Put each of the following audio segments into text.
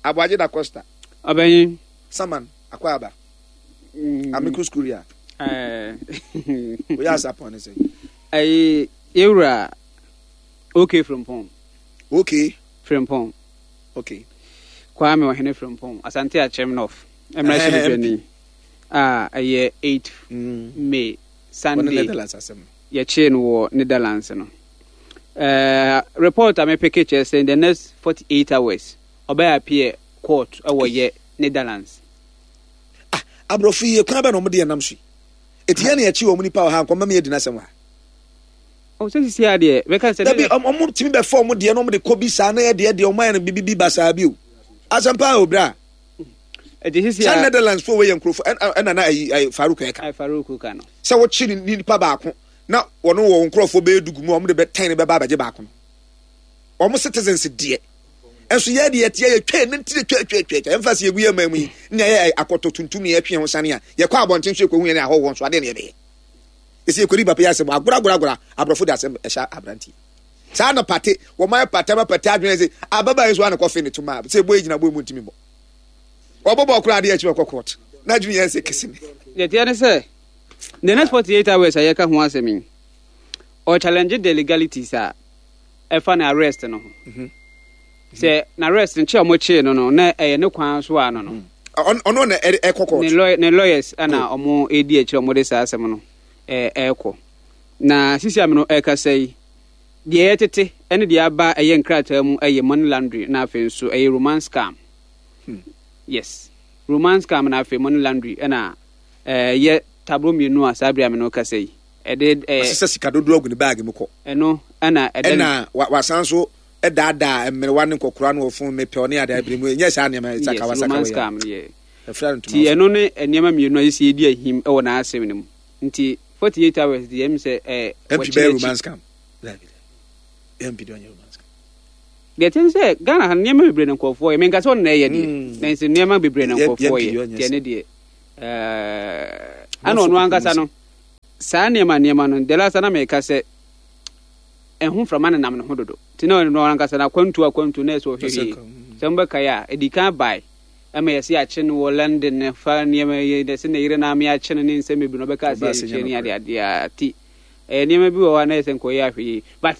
Aboagye da Costa. Ɔbɛnyin. Saman Akwaaba. Amicus Curia. Oyɛ asapɔn ne sɛ. Ɛyi yewura OK Frimpong. OK. Frimpong. OK. Kwame Ɔhene Frimpong Asante Akyem North mmarahyɛbadwani a ɛyɛ 8 May Sunday yɛkyee no wɔ Netherlands no. Uh, report a mepeke kyerɛ sɛ in the next 48 hours ɔbɛyɛ appear court ɛwɔ yɛ Netherlands. Ah, aborɔfo yi kwan bɛ na wɔde yɛn nam so yi. Eti yɛn na yɛkyi wɔn nipa wɔ ha nkɔmma mi yɛ di n'asɛm wɔ ha. O sɛ sisi adeɛ bɛka sɛ. Dabi wɔn tumi bɛ fɔ wɔn deɛ na wɔn de kɔ bi saa na yɛ deɛ deɛ wɔn ayɛ no bibi bi basaa bi o. Asɛm paa o bra. Ɛti sisi a. Sɛ Netherlands fo wɔ yɛ nkurɔfo ɛna na ayi ayi Farouk ɛka. Farouk ka no. Sɛ wɔkyi nipa baako na wɔn wɔ wɔn nkurɔfoɔ bɛyɛ du gu mu a wɔn de bɛ tɛn bɛba abɛgye baako no wɔn citizens deɛ nso yɛ deɛ teɛ yɛ twɛ ne ntiri twɛ twɛ twɛ twɛ ɛnfa si egu yɛ man mu yi ne yɛ akɔtɔ tuntum ne yɛtwe ho sane a yɛkɔ abɔnten so yɛkɔ hu yɛn ahɔhoɔ nso adeɛ ne yɛbɛyɛ esi yɛkɔdi papa yɛ asɛm agora agora agora aborɔfo de asɛm ɛhyɛ aberanteɛ saa na pate wɔn ayɛ pate ama pate adwene sɛ ababaa yi nso ana kɔfe ne toma sɛ ebo gyina bo emu ntumi bɔ wɔbɔbɔ koraa adeɛ akyi wɔkɔ court na adwene yɛn sɛ kɛse ne. Deɛ teɛ ne sɛ The next 48 hours a yɛka ho asɛm yi, ɔ challenge the legalities a ɛfa ne arrest no ho. Mhm. Sɛ na arrest no kye a wɔkyee no no na ɛyɛ ne kwan so a no no. Mm. Ɔno na ɛkɔ court. Ne lawyers na wɔn redi akyire a wɔde saa asɛm no ɛrekɔ. Na sisi a me no ɛrekasa yi, deɛ yɛtete ne deɛ aba ɛyɛ nkrataa mu ɛyɛ money laundry na afei nso ɛyɛ romance scam. Yes, romance scam na afei money laundry ɛna Ɛyɛ taburo mmienu a saa bere a me ne wo kasa yi, ɛde ɛɛ. Wasesa sika dodoɔ agu ne baage mu kɔ. Ɛno ɛna ɛda. Ɛna wasan so daadaa mmerewa ne nkɔkora no wɔ fon mepɛ ɔne ade abiri mu nyɛ saa nneɛma sakawa sakawa yɛ. Yes, romance scam no yɛ. Ɛfira no ntoma. Ti ɛno ne nneɛma mmienu a yɛsi edi ahim wɔ n'asɛm no mu. Nti 48 hours deɛ ɛm sɛ ɛɛ. MP bɛyɛ romance scam. MP deɛ ɔnyɛ romance scam. Deɛ ɛte ne sɛ Ghana ha no nneɛma bebree na nkurɔfoɔ yɛ. Menka sɛ ɔno na ɛyɛ deɛ. Nanso nneɛma bebree na nkurɔfoɔ yɛ. Deɛ ne deɛ. Ɛna ɔno ankasa no, saa nneɛma nneɛma no, the last na meka sɛ ɛho mframa nenam ne ho dodo. Nti na ɔno ankasa no akwantu akwantu na ɛsɛ ɔhwɛ yie. Sɛ mobɛkae a, ɛdi kan bae ɛma yɛse yɛakye no wɔ London ne fa nneɛma yi na ɛsɛ ne yere na ame akye no ne nsɛm bebree na ɔbɛka sɛ yɛnkyerɛ ne ade adeɛ a ti ɛyɛ nneɛma bi wɔ hɔ a na ɛsɛ nkɔyɛ ahwɛ yie. But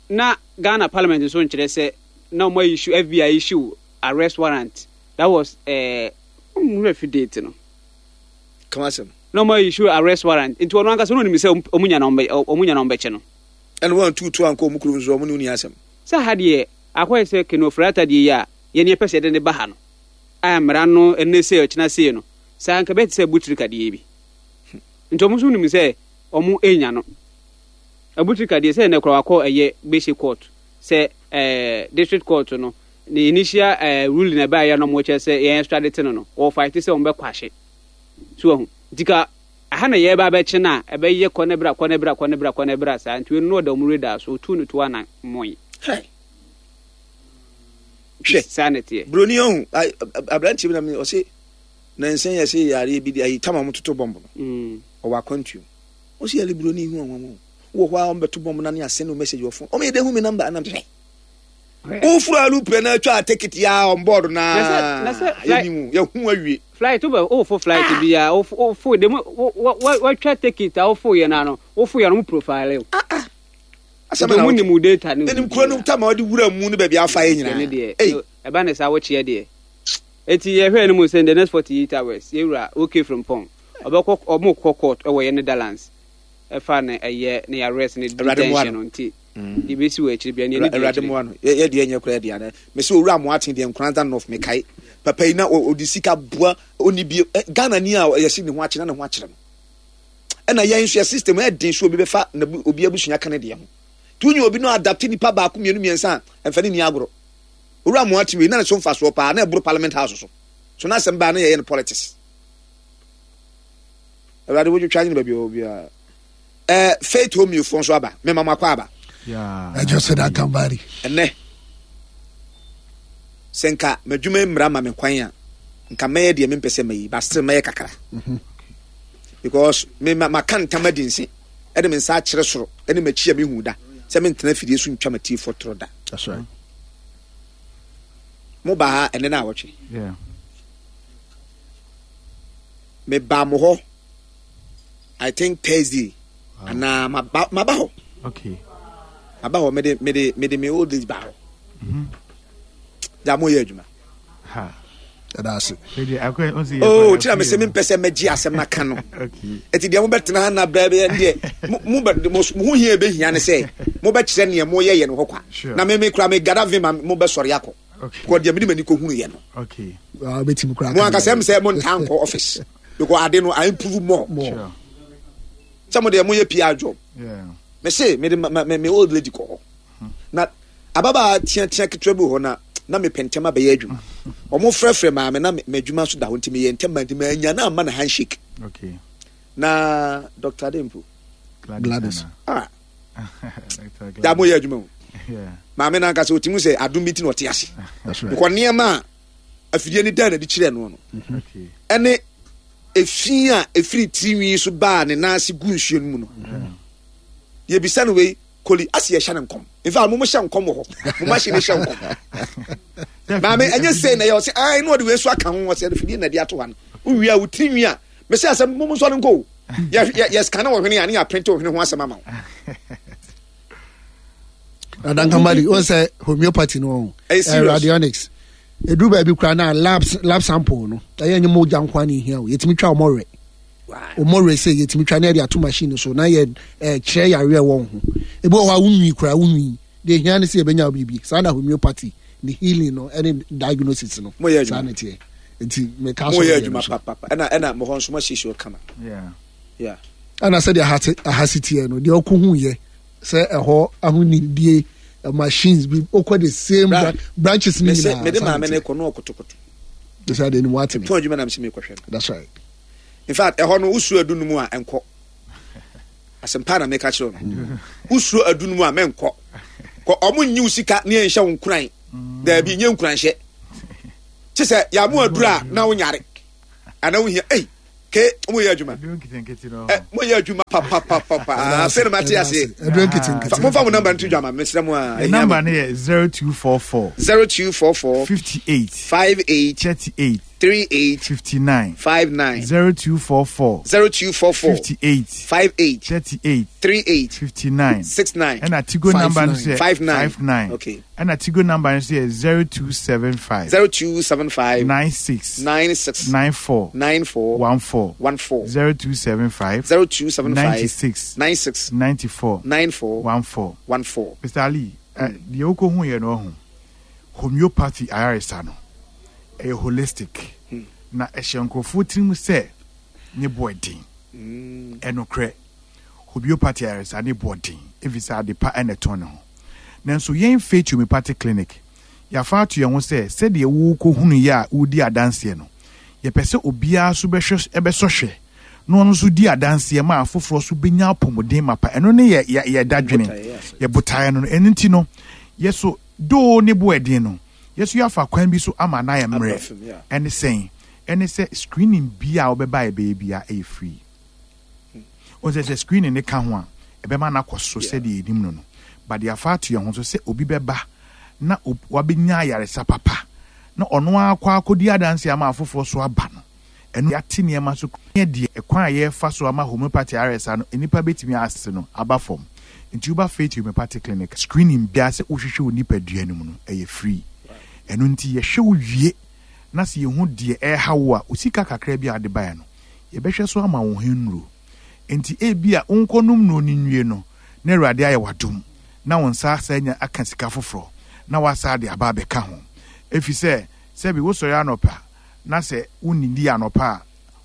na Ghana parliament nso nkyerɛ sɛ na wɔn issue FBI issue arrest warrant that was eh, Ɔmo werɛ fi date no. Ka w'asɛm. Na ɔmo issue arrest warrant nti ɔno ankasa na onim sɛ ɔmo nya na ɔmo nya na ɔmo bɛkye no. Ɛna wɔn antu tuo ankɔ ɔmo kurom nso ɔmo ne wo ni asɛm. Sɛ ha deɛ akɔyɛ sɛ Ken Ofori-Atta deɛ yi a yɛn yɛpɛ sɛ yɛde no ba ha no a mmara no ɛnnɛ sei ɔkyena sei no saa nka ɛbɛyɛ te sɛ Abutirika deɛ yi bi. Nti ɔmo nso nim sɛ ɔmo nya no. Abutirika deɛ sɛ ɛnnɛ koraa wakɔ ɛyɛ Gbese court sɛ ɛɛ district court no Ne initial eh, ruling a ɛbaeɛ na wɔkyerɛ sɛ yɛn extradite no no, wɔ fight sɛ wɔn bɛkɔ ahye. So wahu. Nti ka aha na yɛreba abɛkye no a, ɛbɛyɛ kɔ ne bra, kɔ ne bra, kɔ ne bra, kɔ ne bra saa. Nti wei no na ɔda wɔn radar so, otuu no to ana moe. Hwɛ. Hwɛ. Saa na ɛteɛ. Broni ɔhu, aberanteɛ bi na me ɔse nansa yɛ se yareɛ bi de ayi tam a wɔtoto bɔmb no. Mm. Ɔwɔ akwantuo. Ɔse yɛle broni hu anwanwa o. Wɔ hɔ a wɔbɛto bɔmb na ne asɛn no message wɔ phone. Wɔn yɛ de hu me number anam hwɛ. Woforo aeroplane na atwa ticket ya on board na yɛnim yɛhu awie. Flight wobɛ wofo flight ah. bi a wofo de mu watwa ticket a wofo yɛ na no wofo yɛ no mo profile o. Ah ah. Asɛm na mu nim data no. Enim kuro no tama ɔde wura mu no baabi afa yɛ nyinaa. Ne deɛ ɛba ne saa wɔkyeɛ deɛ. Eti yɛhwɛ no mu sɛ the next 48 hours yɛwura okay from pɔn ɔbɛkɔ ɔmo kɔ court ɛwɔ yɛ Netherlands ɛfa ne ɛyɛ ne arrest ne detention no nti. Deɛ ɛbɛsi wɔ akyire biara, nea ɛne di akyire. Awurade mmoa no. Yɛ deɛ nyɛ koraa deɛ ana. Mese owura Amoaten deɛ Nkoranza North mekae. Papa yi na ɔde sika boa ɔni bie. Ghana ni a yɛse ne ho akyere na ne ho akyere no. Ɛna yɛn nso yɛ system ɛden so obi bɛfa na obi abusua ka ne deɛ ho. Nti wonya obi no adapte nipa baako mmienu mmiɛnsa a ɛmfa ne ni agorɔ. Owura Amoaten wei na ne so mfasoɔ paa na ɛboro parliament house so. So na asɛm baa na yɛyɛ no politics. Awurade wotwitwa nye no baabi ɔwɔ biara. Eh, Faith Homeo foɔ nso aba. Mema mo akɔ aba. Ɛjɔ sɛ da kambari. Ɛnɛ, sɛ nka m'adwuma mmara ma me kwan a, nka mɛyɛ deɛ mempɛ sɛ mɛyi, but still mɛyɛ kakra. Because me ma maka ntam adi nse, ɛde me nsa akyerɛ soro, ɛne m'akyi a mehu da, sɛ mentena afidie so ntwa m'atiefoɔ torɔ da. That's right. Mo ba ha ɛnɛ na awɔtwe. Me ba mo hɔ I think Thursday anaa ma ba ma ba hɔ. Okay. Ma ba hɔ me de me de me de me old age ba hɔ. Mm-hmm. Gya mo yɛ adwuma. Ha. Ɛda ase. Oh, tina me sɛ mempɛ sɛ mɛgye asɛm no aka no. Ɛti deɛ mobɛtena ha na brɛ bɛyɛ deɛ mo mo ho hia ɛbɛhia ne sɛ mobɛkyerɛ neɛ moyɛ yɛ no hɔ kwa. Na me me kura me gada vim a mobɛsɔre akɔ. Kɔ deɛ mede m'ani kɔhunu yɛ no. Ah, mo ankasa m sɛ montaa nkɔ office because ade no I improve more. Sɛ mo deɛ moyɛ PR job. Me se mede me old lady kɔ hɔ. Na ababaa teatea ketewa bi wɔ hɔ na na mepɛ ntɛm abɛyɛ adwuma. Wɔn frɛfrɛ maame na m'adwuma nso da hɔ nti meyɛ ntɛm ma nti manya na ama na handshake. Okay. Na Dr. Adempo. Gladys. Ah. Da mo yɛ adwuma o. Maame na ankasa otimi sɛ adom bi ti na ɔte ase. Because nneɛma a afidie ne dan na de kyerɛ no no. Ɛne efi a efiri tirinwi so baa ne nan ase gu nsuo no mu no. Yɛbisa no wei Koli ase yɛhyɛ no nkɔm. In fact, mo mo hyɛ nkɔm wɔ hɔ. Mo machine hyɛ nkɔm. Maame, ɛnyɛ sei na ɛyɛ ɔsɛ ae na ɔde wei so aka ho ɔsɛ afidie na ɛde ato ha no. Wowie a wo tiri nwi a mesɛ asɛm mo mo nsɔre nkɔ o. Yɛ yɛ yɛ scan wɔ hwene a ne yɛ aprinte wɔ hwene ho asɛm ama wo. Adankamali, wɔn sɛ homeopathy no wɔn. Ɛyɛ serious. Radionics. Edu baabi koraa na lab lab sample no ɛyɛ nye mogya nko ara na ehia o. Yɛtumi twa wɔn werɛ. Wɔn werɛ sɛ yɛtumi twa na yɛde ato machine so na yɛ kyerɛ yareɛ ɛwɔ wo ho. Ebi wɔ hɔ a wonwi koraa wonwi. Deɛ ehia ne sɛ yɛbɛnya wo biribi. Saa na homeopathy ne healing no ɛne diagnosis no. Moyɛ Saa adwuma. na ɛteɛ. Nti meka so Moyɛ deɛ adwuma no so. papapa. Ɛna ɛna mo hɔ nso moasiesie hɔ kama. Yeah. Yeah. Ɛna sɛdeɛ aha te aha si teɛ no deɛ ɔkɔ hu yɛ sɛ ɛhɔ ahonidie machines bi okɔ the same Bra, branches ne mese nyinaa. mede saa na maame no ɛteɛ. kɔ na ɔkotokoto. Sɛ adeɛ no mu ate me. Mepɔn adwuma na mese mekɔhwɛ no. That's right. In fact, ɛhɔ no wosuro adu no mu a ɛnkɔ. Asɛmpa na meka kyerɛ no. Wosuro adu no mu a mɛnkɔ. Kɔ ɔmo nyi wo sika ne ɛnhyɛ wo nkuran. Daabi, nyɛ nkuranhyɛ. Kye sɛ yɛamo aduru a na wonyare. Ana wohia, ei, ke mo yɛ adwuma. Ɛ mo yɛ adwuma papapapa. Afei na mate aseɛ. Aduru nketenkete. Momfa mo namba nto dwa ma mesrɛ mo a. The number no yɛ 0244. 0244. 58. 58. 38. 38. 59. 59. 0244. 0244. 58. 58. 38. 38. 59. 69. Ɛna Tigo number no so yɛ 59. 59. Okay. Ɛna Tigo number no so yɛ 0275. 0275. 96. 96. 94. 94. 14. 14. 0275. 0275. 96. 96. 94. 94. 14. 14. Mr. Ali, deɛ wokɔhu yɛ no ɔho homeopathy ayaresa no ɛyɛ holistic na ɛhyɛ nkurɔfoɔ tirim sɛ ne boɔ den. Ɛnokorɛ, homeopathy ayaresa ne boɔ den ɛfiri sɛ ade pa ɛna ɛtɔn ne ho. Nanso yɛn Faith Homeopathic Clinic, yɛafa ato yɛn ho sɛ sɛdeɛ worekɔhunu yɛ a woredi adanseɛ no, yɛpɛ sɛ obiara nso bɛhwɛ bɛsɔ hwɛ na ɔno nso di adanseɛ ma afoforɔ nso bɛnya apɔmuden mapa. Ɛno ne yɛ yɛ yɛ dadwene, yɛ botaeɛ no no. Ɛno nti no, yɛ so doo ne bo ɛden no, yɛ so yɛafa kwan bi so ama no ayɛ mmerɛ. Ɛne sɛn? Ɛne sɛ screening biara a wobɛba a yɛbɛyɛ biara ɛyɛ free. Wohu sɛ sɛ screening no ka ho a, ɛbɛma no akɔ so sɛdeɛ yɛnim no no. But yɛafa ato yɛn ho so sɛ obi bɛba na wabɛnya ayaresa papa na ɔno ara akɔ akɔdi adanseɛ ama afoforɔ so aba no, ɛno yɛate nneɛma so ne deɛ ɛkwan a yɛrefa so ama homeopathy ayaresa no nnipa bɛtumi ase no aba fam. Nti woba Faith Homeopathic Clinic a, screening biara sɛ wohwehwɛ wo nipadua no mu no, ɛyɛ free. Ɛno nti yɛhwɛ wo wie na sɛ yɛhu deɛ ɛreha wo a, wo sika kakra bi a wode baeɛ no, yɛbɛhwɛ so ama wo ho nnuro. Enti ebia wonkɔnom nnuro no nwie no, na Awurade ayɛ wo adom, na wo nsa asan anya aka sika foforɔ, na woasan de aba abɛka ho. Ɛfiri sɛ, sɛbe wosɔre anɔpa, na sɛ wonnidii anɔpa a,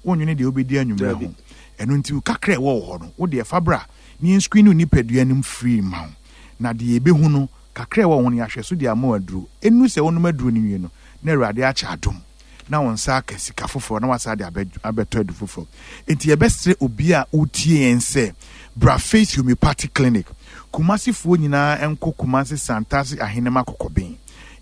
wonnwene deɛ wobɛdi anwummerɛ ho. Ɛno nti, wo kakra a ɛwɔ wo hɔ no, wo deɛ fa bra na yɛnscreen wo nipadua no mu free mma wo. Na deɛ yɛbɛhu no, kakra a ɛwɔ wo ho no, yɛahwɛ so de ama wo aduro. Ɛnnuru sɛ wonom aduro no nwie no, na Awurade akyɛ adom. na wo nsa aka sika foforɔ na wasan de abɛtɔ adu foforɔ. Enti yɛbɛsrɛ obi a wotie yɛn sɛ bra Faith Homeopathic Clinic. Kumasifoɔ nyinaa nkɔ Kumasi Santase Ahenema Kɔkɔben.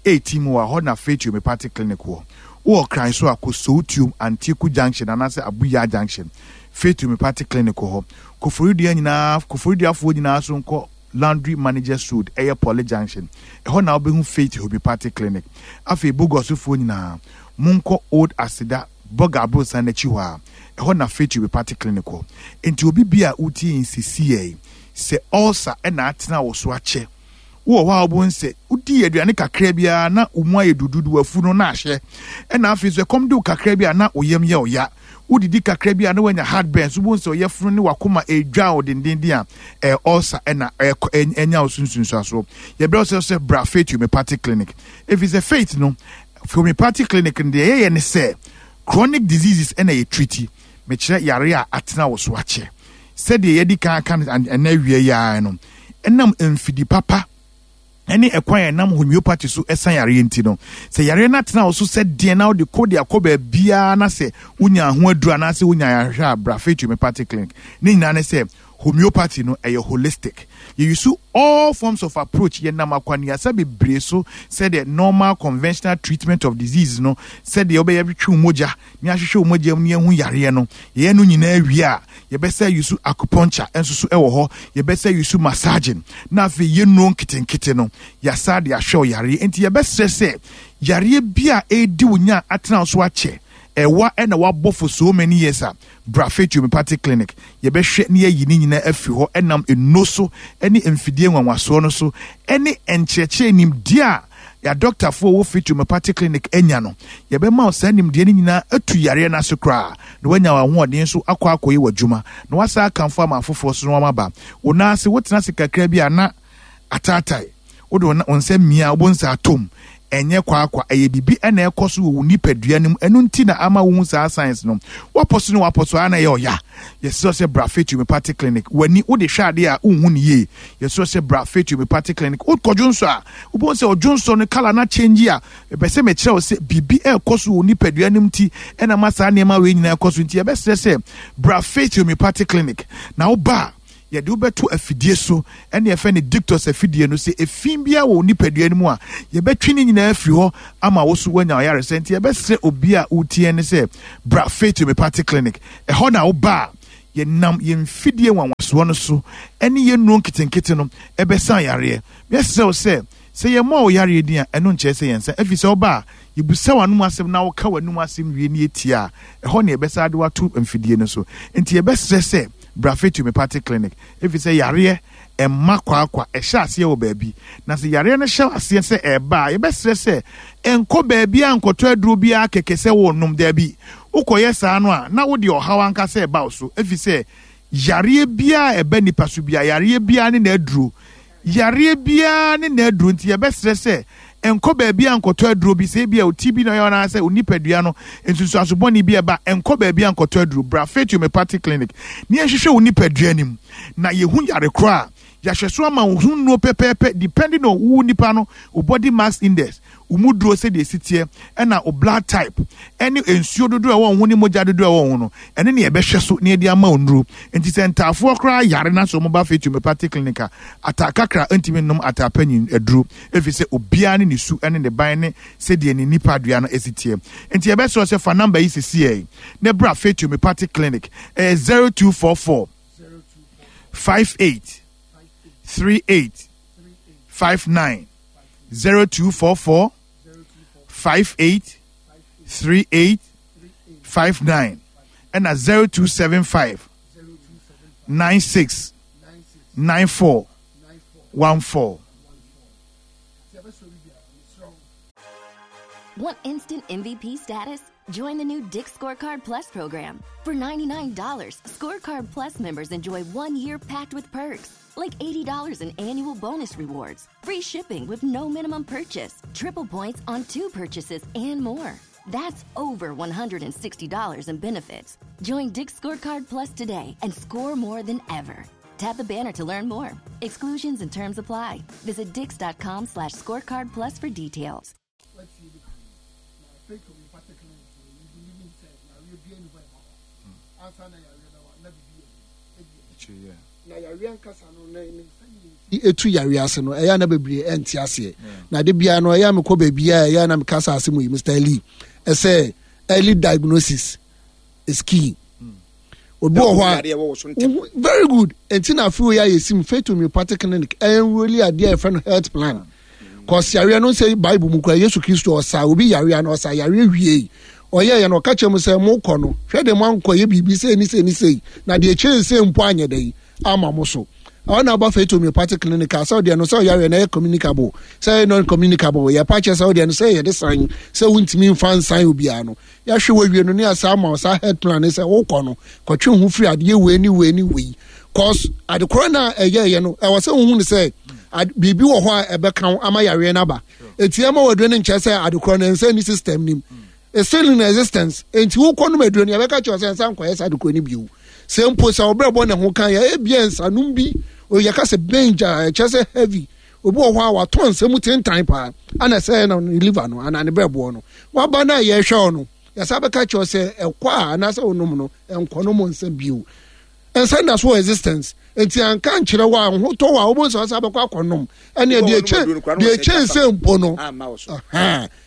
18 mu wɔ hɔ na Faith Homeopathic Clinic wɔ. Wowɔ Kran so a kɔ Sowutuom Antieku Junction anaasɛ Abuya Junction. Faith Homeopathic Clinic wɔ hɔ. Koforidua nyinaa Koforiduafoɔ nyinaa so nkɔ. Laundry Managers Road, ɛyɛ Poly Junction. Ɛhɔ na wobɛhu Faith Homeopathic Clinic. Afei Bogosofoɔ nyinaa, monkɔ Old Aseda Bɔga aborosan no akyi hɔ a, ɛhɔ na Faith Homeopathic Clinic wɔ. Enti obi bi a wotie yɛn sesei yi, sɛ ulcer na atena wo so akyɛ, wowɔ hɔ a wobɛhu sɛ wodii aduane kakra bi ara na wo mu ayɛ duduudu, w'afu no na ahyɛ. Ɛna afei nso ɛkɔm de wo kakra bi a na wo yam yɛ wo ya. Wodidi kakra bi a na woanya heartburn, so wobɛhu sɛ wo yafunu ne w'akoma ɛredwan wo dendeenden a, ɛyɛ ulcer ɛna ɛkɔ ɛnya wo so nsunsuansoɔ. Yɛbrɛ wo sɛ sɛ bra Faith Homeopathic Clinic. Ɛfiri sɛ Faith no, Homeopathic Clinic no deɛ yɛyɛ ne sɛ chronic diseases ɛna yɛ treati. Mekyerɛ yare a atena wo so akyɛ. Sɛdeɛ yɛadi kan aka no ɛnɛ awia yi ara no, ɛnam mfidi papa ne ɛkwan a ɛnam homeopathy so sa yareɛ nti no, sɛ yareɛ no atena wo so sɛ deɛn na wode kɔ de akɔ baabiara na sɛ wonya ho aduru anaasɛ wonya ayarehwɛ a, bra Faith Homeopathic Clinic. Ne nyinaa ne sɛ homeopathy no ɛyɛ holistic. Yɛ use all forms of approach, yɛnam akwannuasa bebree so sɛdeɛ normal conventional treatment of disease no, sɛdeɛ wobɛyɛ twetwe wo mogya ne ahwehwɛ wo mogya mu ne ahu yareɛ no. Yɛyɛ no nyinaa wie a, yɛbɛsa use acupuncture nso so wɔ hɔ, yɛbɛsa use massaging, na afei yɛ nnuro nketenkete no, yɛasa de ahwɛ wo yareɛ. Enti yɛbɛsrɛ sɛ yareɛ bi a ɛredi wo nya a atena wo so akyɛ, ɛwa na wabɔ for so many years a, bra Faith Homeopathic Clinic. Yɛbɛhwɛ na yɛayi ne nyinaa afiri hɔ ɛnam nnuro so ne mfidie nwanwasoɔ no so ne nkyerɛkyerɛ nimdeɛ a yɛadɔktafoɔ wɔ Faith Homeopathic Clinic anya no. Yɛbɛma wo saa nimdeɛ no nyinaa atu yareɛ no ase koraa na woanya w'ahoɔden nso akɔ akɔyɛ w'adwuma na woasan akamfo ama afoforɔ nso na wɔaba wo nan ase. Wotena ase kakra bi a na ataatae. Wode wo nsa mia a, wobɛhu sɛ atɔ mu. Ɛnyɛ kwaakwa, ɛyɛ biribi na ɛrekɔ so wɔ wo nipadua no mu. Ɛno nti na ama wohu saa signs no. Woapɔ so ne woapɔ so ara na ɛyɛ ɔya. Yɛsrɛ wo sɛ bra Faith Homeopathic Clinic. W'ani, wode hwɛ adeɛ a, wonhu no yie. Yɛsrɛ wo sɛ bra Faith Homeopathic Clinic. Wokɔ dwonsɔ a, wobɛhu sɛ ɔdwonsɔ no colour no akyɛngyi a, mepɛ sɛ mekyerɛ wo sɛ biribi rekɔ so wɔ wo nipadua no mu nti na ama saa nneɛma wei nyinaa rekɔ so. Nti yɛbɛsrɛ sɛ bra Faith Homeopathic Clinic. Na woba a, yɛde wo bɛto afidie so, ɛne yɛfrɛ no dictus afidie no, sɛ efi biara wɔ wo nipadua no mu a, yɛbɛtwe ne nyinaa afiri hɔ ama wo so woanya ɔyaresɛ. Nti yɛbɛsrɛ obi a wotie ne sɛ, bra Faith Homeopathic Clinic. Ɛhɔ na woba a, yɛnam yɛn mfidie nwanwasoɔ no so ne yɛn nnuro nketenkete no ɛbɛsa yareɛ. Yɛsrɛ wo sɛ, sɛ yɛmmɔɔ wo yareɛ din a, ɛno nkyerɛ sɛ yɛnsa, ɛfiri sɛ woba a, yɛbusa w'anom asɛm na woka w'anom asɛm wie na yɛtie a, ɛhɔ na yɛbɛsan de wo ato mfidie no so. Nti yɛbɛsrɛ sɛ, bra Faith Homeopathic Clinic, efisɛ yareɛ mma kwaakwa, ɛhyɛ aseɛ wɔ baabi. Na sɛ yareɛ no hyɛ aseɛ sɛ ɛreba a, yɛbɛsrɛ sɛ nkɔ baabiara nkɔtɔ aduro biara kɛkɛ sɛ worenom. Daabi, wokɔyɛ saa no a, na wode ɔhaw ankasa reba wo so, efisɛ yareɛ biara a ɛba nnipa so biara, yareɛ biara ne n'aduro. Yareɛ biara ne n'aduro nti yɛbɛsrɛ sɛ nkɔ baabiara nkɔtɔ aduro bi, sɛ ebia wo ti bi na ɔyɛ wo anaasɛ wo nipadua no nsunsuanso bɔne bi ɛba, nkɔ baabiara nkɔtɔ aduro. Bra Faith Homeopathic Clinic na yɛnhwehwɛ wo nipadua no mu na yɛhu yare korɔ a yɛahwɛ so ama wo ho nnuro pɛpɛɛpɛ depending on wo nipa no, wo body mass index, wo mu duro sɛdeɛ ɛsi teɛ, ɛna wo blood type, ɛne nsuo dodoɔ a ɛwɔ wo ho ne mogya dodoɔ a ɛwɔ wo ho no, ɛne ne yɛbɛhwɛ so na yɛde ama wo nnuro. Nti sɛ ntaafoɔ koraa yare na sɛ wɔba Faith Homeopathic Clinic a, ataa kakra ntumi nnom ataa panyin aduro, ɛfiri sɛ obiara ne ne su ne ne ban ne sɛdeɛ ne nipadua no si teɛ. Nti yɛbɛsrɛ wo sɛ fa number yi sesiei na bra Faith Homeopathic Clinic, ɛyɛ 0244 58 38 59. 0244 58 38 59 ɛna 0275 96 94 14. Want instant MVP status? Join the new Dick's Scorecard Plus program. For $99, Scorecard Plus members enjoy one year packed with perks, like $80 in annual bonus rewards, free shipping with no minimum purchase, triple points on two purchases, and more. That's over $160 in benefits. Join Dick's Scorecard Plus today and score more than ever. Tap the banner to learn more. Exclusions and terms apply. Visit dix.com slash scorecard plus for details. Etu yareɛ ase no ɛyɛ na bebree ɛnte aseɛ na de biara no ɛyɛ a mekɔ baabi a ɛyɛ na meka saa asɛm yi Mr. Lee ɛsɛ early diagnosis is key. Obi wɔ hɔ a very good. Nti na afei yɛ ayɛ sim Faith Homeopathic Clinic ɛnroli adeɛ a yɛfrɛ no health plan. Kɔsi yareɛ no sɛ Bible mu kura Yesu Kristo ɔsa obi yareɛ na ɔsa yareɛ wie ɔyɛ yɛ no ɔka kyerɛ mu sɛ mo kɔ no hwɛ de mo ankɔ yɛ biribi sɛ ni sɛ ni sɛ na deɛ kyerɛ sɛ mpo anyɛ dɛ yi ama mo so. Ɔno na aba Faith Homeopathic Clinic a sɛ ɔdeɛ no sɛ ɔyareɛ no ɛyɛ communicable sɛ ɛyɛ non communicable yɛ pa kyerɛ sɛ ɔdeɛ no sɛ yɛde san sɛ wontumi mfa nsan obiara no yɛahwɛ wawie no ne asa ama wo saa health plan ne sɛ wokɔ no kɔtwe ho firi adeɛ wei ne wei ne wei cause ade korɔ no a ɛyɛɛyɛ no ɛwɔ sɛ wohu no sɛ biribi wɔ hɔ a ɛbɛka wo ama yareɛ no aba ɛti ɛma waduro no nkyerɛ sɛ ade korɔ no ɛnsɛ ni system nim it's still in existence nti wokɔ nom aduro no yɛbɛka kyerɛ sɛ nsa nkɔyɛ saa ade korɔ no bio sɛ mpo sɛ wɔbrɛ bɔ ne ho kan yɛ ebia nsanom bi yɛka sɛ bench a ɛkyerɛ sɛ heavy obi wɔ hɔ a watɔ nsa mu tentan paa ana sɛ na ne liver no anaa ne brɛboɔ no waba no a yɛhwɛ wo no yɛsa bɛka kyerɛ sɛ ɛkɔ a anaasɛ wonom no ɛnkɔ nom nsa bio nsa nda so wɔ existence nti anka nkyerɛ wo a ho tɔ wo a wobɛhu sɛ ɔsa bɛkɔ akɔnom ɛne deɛ ɛkyɛ nsɛ mpo no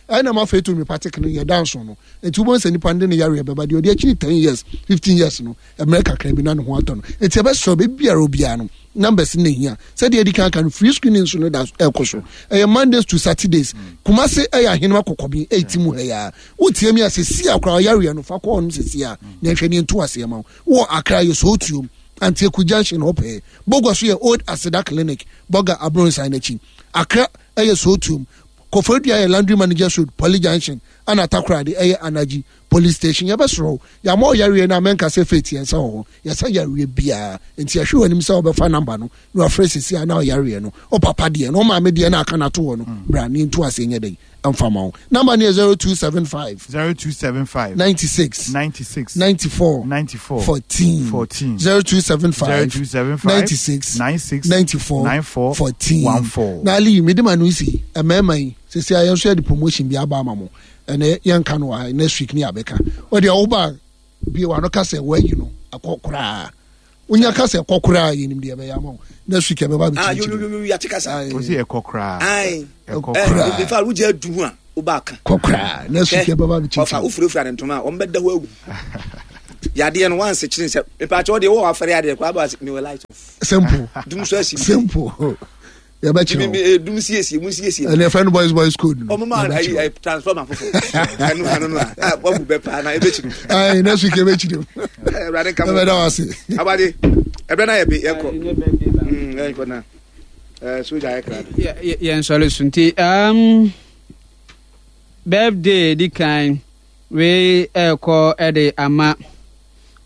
ɛna ma afei to homeopathic no yɛ danso no nti wobɛhu sɛ nipa no de ne yareɛ bɛba deɛ ɔde akyiri 10 years 15 years no mmerɛ kakra bi na ne ho atɔ no nti ɛbɛsrɛ baabiara obiara no numbers no hia sɛdeɛ adi kan ka no free screening nso no da ɛkɔ so ɛyɛ Mondays to Saturdays Kumase ɛyɛ ahenema kɔkɔben ɛti mu ha yi a wotie mi a sɛsi a koraa ɔyareɛ no fa kɔ hɔ nom sɛsi a na ɛhwɛ ne nto aseɛ ma wo wɔ Accra yɛ Sootuom Antieku Junction hɔ pɛɛ Bogwa so yɛ Old Aseda Clinic Bɔga Abronsan n'akyi Accra ɛyɛ Sootuom Koforidua yɛ Laundry Managers Road Poly Junction ɛna Takoradi ɛyɛ Anaji Police Station yɛbɛsrɛ wo yɛama wo yareɛ no a mɛnka sɛ faith yɛn nsa wɔ hɔ yɛsa yareɛ biara nti yɛhwɛ w'anim sɛ wobɛfa number no na wafrɛ sisi a na ɔyareɛ no wo papa deɛ no wo maame deɛ no aka no ato hɔ no bra ne nto aseɛ nyɛ dɛn ɛmfa ma wo number no yɛ 0275 0275 96 96 94 94 14 14 0275 0275 96 96 94 94 14 14. na ali mede ma no si mmarima yi sisi a yɛn nso yɛde promotion bi aba ama mo ɛnɛ yɛnka no wɔ next week ne yɛabɛka ɔdeɛ woba bie wano ka sɛ wayi no akɔ koraa wonya ka sɛ ɛkɔ koraa yɛnim deɛ ɛbɛyɛ ama wo next week ɛbɛba bɛkyirikyiri yɛate kasa ɔsi ɛkɔ koraa ɛkɔ koraa in fact wogye adu ho a woba aka kɔ koraa next week ɛbɛba bɛkyirikyiri ɔfa wofurafura ne ntoma a wɔn bɛda hɔ awu yadeɛ no wansekyere sɛ mepaakyɛ wo deɛ wowɔ afɛre adeɛ koraa ba mewɔ light off simple dum so asi simple yɛbɛkyerɛ wo dum siesie mu siesie ɛne ɛfɛ no boys boys code no ɔmo ma ayi ayi transformer foforɔ ɛno ano no a wabu bɛ paa na ɛbɛkyiri ayi next week ɛbɛkyiri mu ɛwurade nka mo ɛbɛda wo ase abade ɛbɛ na yɛ bi yɛnkɔ yɛnkɔ na ɛɛ soja ayɛ kra yɛn sɔre so nti birthday di kan wei ɛkɔ ɛde ama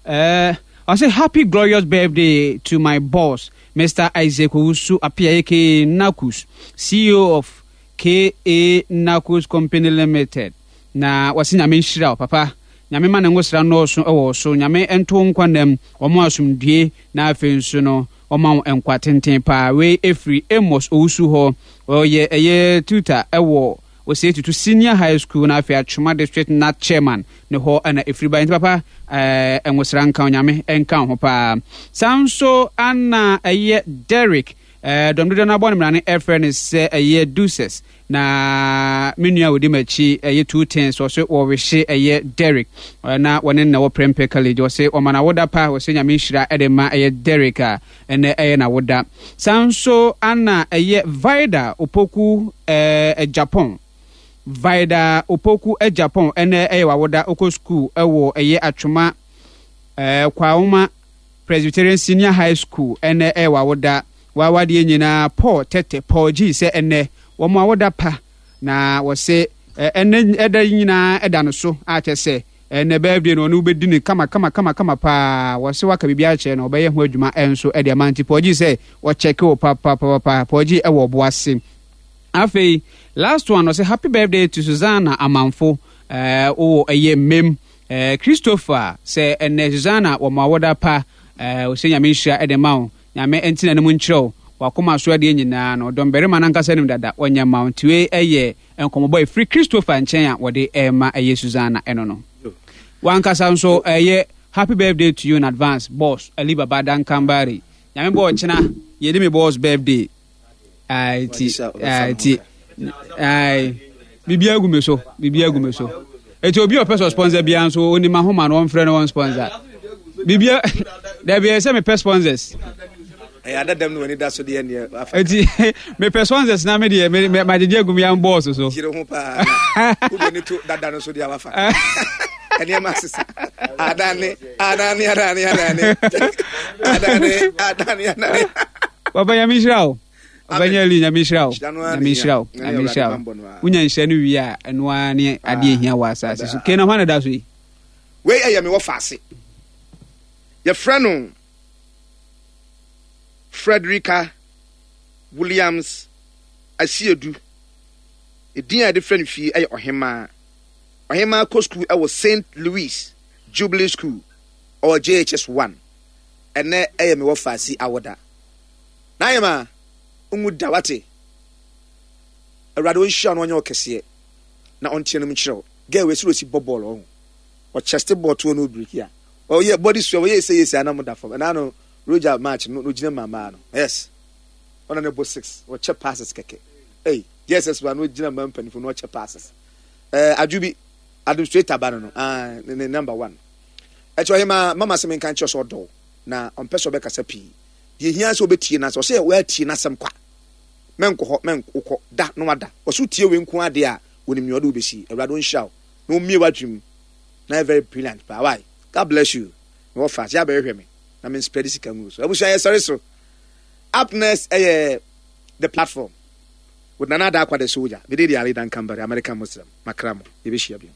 ɛɛ ɔsɛ happy glorious birthday to my boss Mr. Isaac Owusu Appiah aka Nakus, CEO of KA Nakus Company Limited. Na wɔse Nyame nhyira wo papa. Nyame ma ne ngosra nnɔɔso wɔ wo so. Nyame nto wo nkwa nnam, ɔmo asomdwie na afei nso no ɔma wo nkwa tenten paa. Wei ɛfiri Amos Owusu hɔ. Ɔyɛ ɛyɛ tutor ɛwɔ Osei Tutu Senior High School na afei Atwoma District NAT Chairman ne hɔ na ɛfiri baeɛ. Nti papa eh, nwosra nka Onyame nka wo ho paa. Saa nso ana ɛyɛ Derrick eh, dɔm dodoɔ no abɔ ne mmara no ɛfrɛ no sɛ ɛyɛ Deuces na me nua a ɔdi m'akyi ɛyɛ Two Tens ɔse wɔwehye ɛyɛ Derrick eh, na wɔne no na wɔ Prempeh College ɔse ɔma no awoda pa ɔse Nyame nhyira ɛde ma ɛyɛ Derrick a Ɛnnɛ ɛyɛ n'awoda. Saa nso na ɛyɛ Vida Opoku eh, Japan. Vida Opoku eh, Japan, ɛnnɛ ɛyɛ w'awoda. Wokɔ sukuu wɔ ɛyɛ Atwoma eh, Kwaoma Presbyterian Senior High School, ɛnnɛ ɛyɛ w'awoda. W'awadeɛ nyinaa Paul Tete, Paul G sɛ ɛnnɛ wɔn awoda pa. Na wɔse ɛnnɛ ɛda yi nyinaa ɛda no so a kyɛ sɛ Ɛnɛ birthday no ɔne wo bɛdi no kama kama kama kama paa wɔse waka biribi akyerɛ no ɔbɛyɛ ho adwuma nso de ama nti Pɔgye sɛ ɔkyɛke wo papapapapa Pɔgye ɛwɔ ɔbo ase afei last one ɔse happy birthday to Susanna Amanfo ɛɛ wowɔ ɛyɛ mmem ɛɛ Christopher sɛ ɛnɛ Susanna wɔ mo awoda pa ɛɛ ɔsɛ nyame nhyira ɛde ma wo nyame ɛntena no mu nkyerɛ wo wakoma so adeɛ nyinaa no ɔdɔmbarima no ankasa nim dada ɔnyɛ ma wo nti wei ɛyɛ Nkɔmmɔbɔ a ɛfiri Christopher nkyɛn a wɔde rema ɛyɛ Susanna ɛno no. W'ankasa nso ɛyɛ Happy birthday to you in advance boss Ali Baba Dankambari. Nyame bɔ ɔkyena yɛdi me boss birthday. Ae ti ae ti ae biribi agu me so biribi agu me so. Eti obi a ɔpɛ sɛ ɔsponsor biara nso onim ahoma no ɔmfrɛ no wɔn sponsor. Bibia dabi ɛyɛ sɛ mepɛ sponsors. Ɛyɛ adadam no w'ani da so deɛ neɛ afa. Eti mepɛ sponsors na me deɛ me me magyegye agu me yan bɔɔso so. Yere ho paa na wode ne to dada no so deɛ wafa. Nneɛma asesa. Adane adane adane adane adane adane adane. Papa nyame nhyira wo. Ɔbɛnyɛ li nyame nhyira wo. Nyame nhyira wo. Nyame nhyira wo. Wonya nhyira no wie a ɛno ara ne adeɛ hia wɔ asase so. Kena hwan na da so yi? Wei ɛyɛ me wɔfaase. Yɛfrɛ no Frederica Williams Asiedu. Edin a yɛde frɛ no fie yɛ Ɔhemmaa. Ɔhemmaa kɔ sukuu wɔ Saint Louis Jubilee School. Ɔwɔ JHS 1. Ɛnnɛ ɛyɛ me wɔfaase awoda. N'ahemaa, nwu da, wate? Awurade ɔnhyira wo na ɔnyɛ wo kɛseɛ na ɔnteɛ no mu nkyerɛ wo. Girl wei sɛ ɔsi bɔ bɔɔl ɔho. Ɔchɛste bɔɔl toɔ no ɔbreki a. Ɔyɛ body swell ɔyɛ ese ese ana mo da fam. Ɛna no Roger match no ɔgyina mu maa no. Yes. Ɔna ne bɔ six. Ɔkyɛ passes kɛkɛ. Ei, JSS wa no ɔgyina ma mpanimfoɔ no ɔkyɛ passes. Eh, adwo bi administrator ba no no. Ah, ne, ne number one. Ɛkyɛ ɔhema mama sɛ menka nkyerɛ sɛ ɔdɔ na ɔmpɛ sɛ ɔbɛkasa pii. Deɛ ehia sɛ ɔbɛtie n'asɛm. Ɔsɛ wɔatie n'asɛm kwa. Mɛnkɔ hɔ, mɛnkɔ da na wada. Ɔsɛ wotie wei nko ara deɛ a, onim nea ɔde wo bɛsi. Awurade ɔnhyira wo na ɔmmue w'adwene mu na yɛ very brilliant paa. Why? God bless you. Mewɔ fa sɛ abɛhwehwɛ me na me spread sika ngu so. Abusua yɛsɔre so. Up next ɛyɛ the platform with Nana Adakwa the soldier. Mede de Ali Dankambari, American Muslim. Makra mo. Yɛbɛhyia bio.